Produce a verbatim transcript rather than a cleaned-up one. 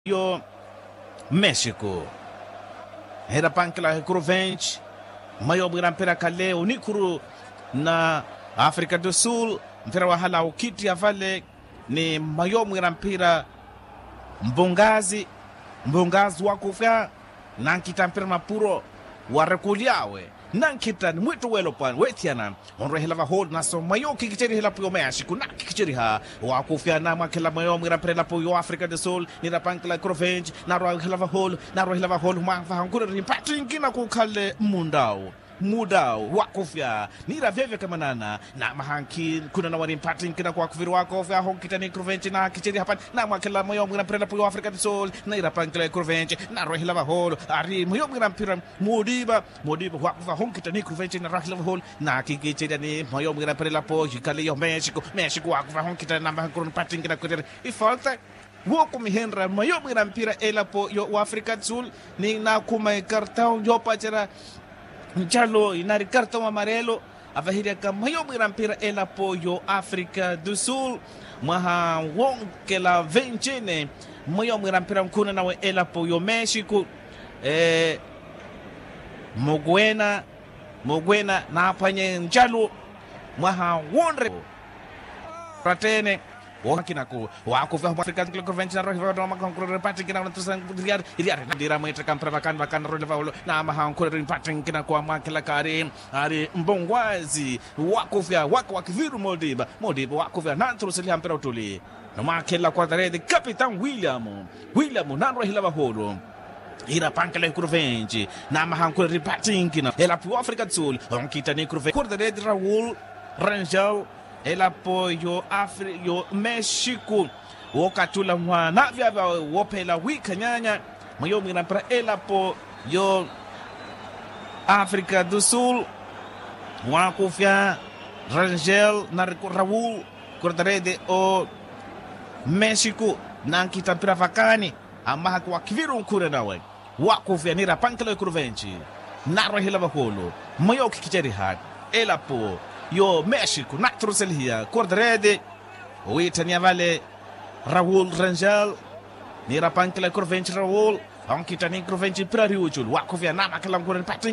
Yo mexico, hira pankela hikuru venti. Maiyo mwira mpira khale onikhuru na africa do sul. Mpira wahala okhitti avale ni maiyo mwira mpira mbungazi. Mbungazi wakufya nankhitta mpira mapuro warekuli awe. Nankhitta ni mwittu welopwani wethiyana. Onrwehela vaholo naso maiyo khikiceriha elapo yo mexico nakhikiceriha. Wakufya namwakhela maiyo mwira mpira elapo yo africa do sul nira pankela hikuru venti. Narwahela vaholo narwahela vaholo mwaha vaha nkhureri mpattinkina khukhale mmundawu. Mudau wakufya nira veveka manana. Namaha nkhuna nawari mpattinkina khwakuviri wakufya aho nkhitta ni hikuru venti nakhiceriha pani. Namwakhela maiyo mwira mpira elapo yo africa do sul nira pankela hikuru venti. Narwahela vaholo ari maiyo mwira mpira mudiva. Mudiva wakufya aho nkhitta ni hikuru venti narwahela vaholo. Nakhikicerya ni maiyo mwira mpira elapo yikhale yo mexico mexico wakufya aho nkhitta namaha nkhureri mpattinkina khwireri ifalta. Wookumihenrya maiyo mwira mpira elapo yo africa do sul. Ni nakhuma ikartau yoopacerya ncalo inari kartau amarelo avahiryaka maiyo mwira mpira elapo yo africa do sul. Mwaha wonkela vencine maiyo mwira mpira nkhuna nawe elapo yo mexico. Mukwena mukwena naaphwanye ncalo mwaha wonre rattene. Wohakinako wakuvya huma africa nkilokoventi narohiva mpattinkina nakunatusanga. Iriari iriari ndira mwittaka mpira vakani vakani naroleva olo namaha nkhureri mpattinkina khwamwakhela kaari ari mbongwazi. Wakuvya waka wakiviru modiva modiva wakuvya nanturuseliha mpira uttuli. Namwakhela quartarete capitão william william nanrwehela vaholo. Ira pankela hikuru venti namaha nkhureri mpattinkina elapo yo africa do sul. Onkhitta ni hikuru venti quartarete raul rangel. Elapo yo afri yo mexico. Wookattula mwaana vyavya woophela wiikhanyaanya. Mwa yoomwiira mpira elapo yo africa do sul. Waakufya rangel na raul. Quartarete o mexico nankhitta mpira vakaani. Amahaka wakhiviru nkhurya nawe. Waakufya niira pankela yo hikuru venti narwehela vahoolo. Mwa yookhikiceriha elapo yo mexico naturuselihiya quartarete. Owiitthaniya vale raul rangel. Niira pankela yo hikuru venti raul. Onkhitta ni hikuru venti mpira ari uculu waakufya naamakhela nkhurya ni patti.